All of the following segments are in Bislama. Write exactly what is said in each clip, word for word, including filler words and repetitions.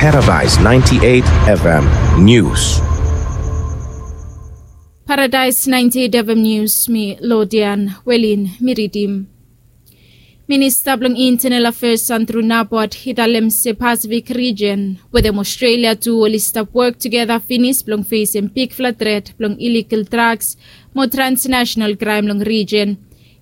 Paradise ninety-eight F M News. Paradise ninety-eight F M News, mi Lodian Welin, mi ridim. Minista blong Internal Affairs Andrew Nabot i talem se Pasifik rijen wetem Australia tu oli stap wok tugeta finis blong fesem bigfala tret blong iligal drugs mo transnational kraem long rijen.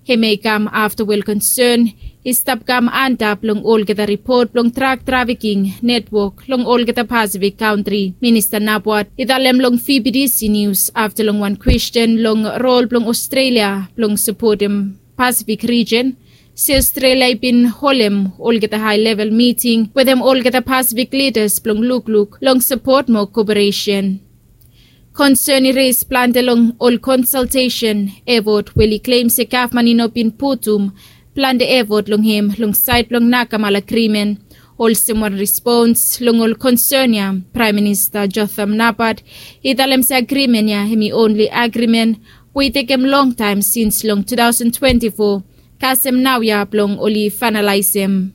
Hem i kam afta wel konsern i stap kam antap long olgeta ripot blong drug trafficking netwok long olgeta Pasifik kantri. Minista Nabot i talem long V B D C News afta long wan kwesten long rol blong Australia blong sapotem Pasifik rijen, se Australia i bin holem olgeta hae level miting wetem olgeta Pasifik lidas blong lukluk long sapot mo koperesen. Konsern i res plante long ol konsaltesen efot we oli klem se gavman i no bin putum plante efot long hem long saed blong nakamala agrimen. Olsem wan respons long ol konsern ya, Praem Minista Jotham Napat i talem se agrimen ya hem i onli agrimen we i tekem longtaem sins long two thousand twenty-four, kasem naoia blong oli faenalaesem.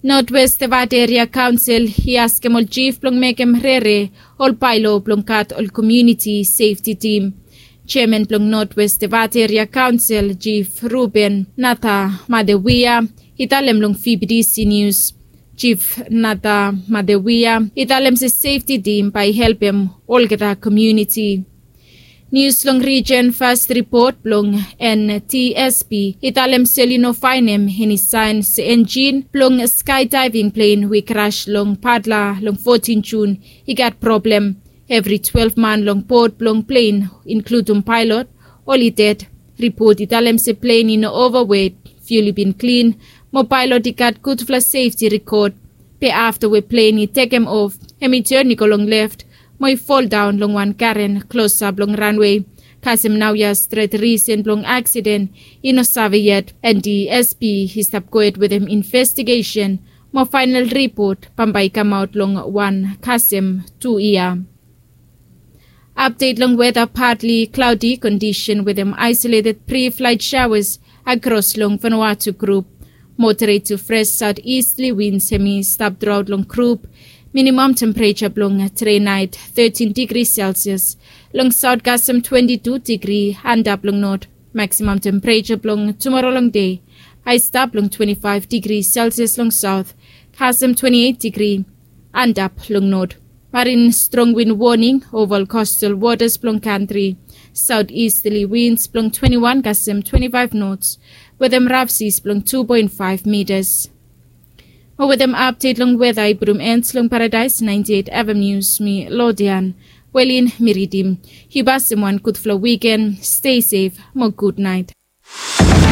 Notwest Devate Eria Kaonsel i askem ol jif blong mekem rere ol baelo blong gat ol komuniti sefti tim. Jeaman blong Notwest Devate Eria Kaonsel, Jif Ruben Nata Madewia, i talem long V B D C News. Jif Nata Madewia i talem se sefti tim bae i helpem olgeta komuniti. Nius long rijen, fas ripot blong N T S B i talem se oli no faenem eni saen se enjin blong skydiving plen we i kras long Padla long fotin Jun i gat problem. Evri twelef man long bot blong plen, inkludum paelot, oli ded. Ripot i talem se plen i no ovawet, fiul i bin klin, mo paelot i gat gudfala sefti rekod. Be afta we plen i tekem of, hem i ten i go long left mo i foldaon long wan garen klosap long ranwe. Kasem naoia stret risen blong aksiden i no save yet. N T S B i stap gohed wetem investigesen mo faenal ripot bambae i kamaot long wan kasem tu yia. Apdet long weta: partly cloudy kondisen wetem aesoleted pre-flight showers akros long Vanuatu grup. Moderate to fresh southeasterly winds hem i stap throughout long grup. Minimum temperature blong tede naet thirteen degree Celsius, long saot kasem twenty-two degree, antap long not. Maximum temperature blong tumora long dei, aestap long twenty-five degree Celsius long saot, kasem twenty-eight degree, antap long not. Marin strong win woning ova ol coastal waters blong kantri. Southeasterly winds blong twenty-one kasem twenty-five knots, wetem rough seas blong two point five meters. Mo wetem apdet long weta i putum en long Paradise ninety-eight F M News, mi Lodian Welin, mi ridim. Yu kasem wan gudfala wiken, stay safe mo gud naet.